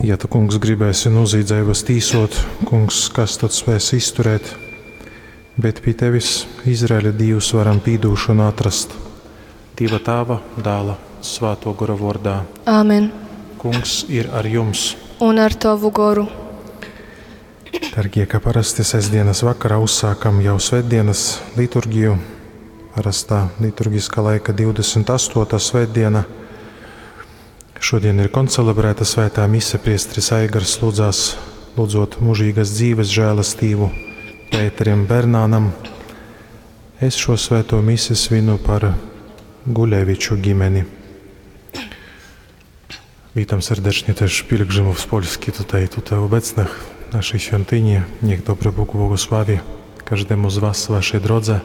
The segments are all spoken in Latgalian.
Ja tu, kungs, gribēsi nozīdzeibas tīsot, kungs, kas tad spēs izturēt? Bet pie tevis, Izraēļa Dīvs, varam pīdūšanu atrast. Dieva Tāva, Dāla, Svāto Gora vārdā. Āmen. Kungs ir ar jums. Un ar tavu goru. Dargie, kā parasti sestdienas vakarā uzsākam jau svētdienas liturgiju. Parastā liturgiskā laika 28. svētdiena. Šodien ir koncelebrēta svētā mise. Priesteris Aigars lūdzās, lūdzot mūžīgas dzīves žēlastību Pēterim Bernānam. Es šo svēto misi svinu par Guleviču ģimeni. Witam serdecznie też pielgrzymów z Polski tutaj, tutaj obecnych w naszej świątyni. Niech dobry Bóg błogosławi każdemu z Was w Waszej drodze,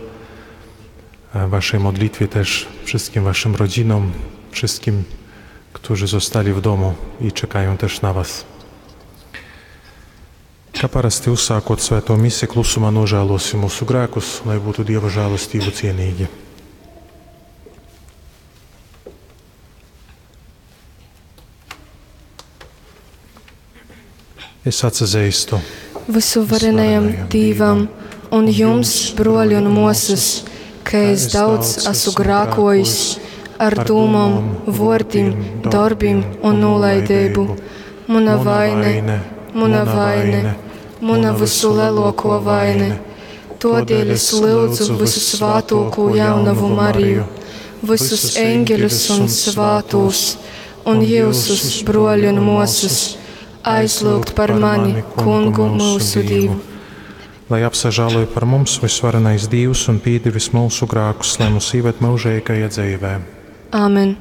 w Waszej modlitwie też, wszystkim Waszym rodzinom, wszystkim, którzy zostali w domu i czekają też na Was. Kā parasti uzsākot svēto misiju, klusumā nožēlosim mūsu grēkus, lai būtu Dieva žēlastību cienīgi. Es atsazīstu Visuvarenajam Dīvam un jums, broļi un mosas, ka es daudz esmu grākojis ar dūmom, vārdiem, darbiem un nolaidību. Muna vaine, muna vaine, muna visu lielāko vaine. Todēļ es lūdzu visu svātoko jaunavu Mariju, visus eņģeļus un svātos, un jūsus, broļi un mosas, aizlūgt par mani, kungu mūsu Dievu. Lai apsažāloja par mums visvarenais Dievs un pīdevis mūsu grākus, lai mūs ieved mūžīgajā dzīvē. Āmen.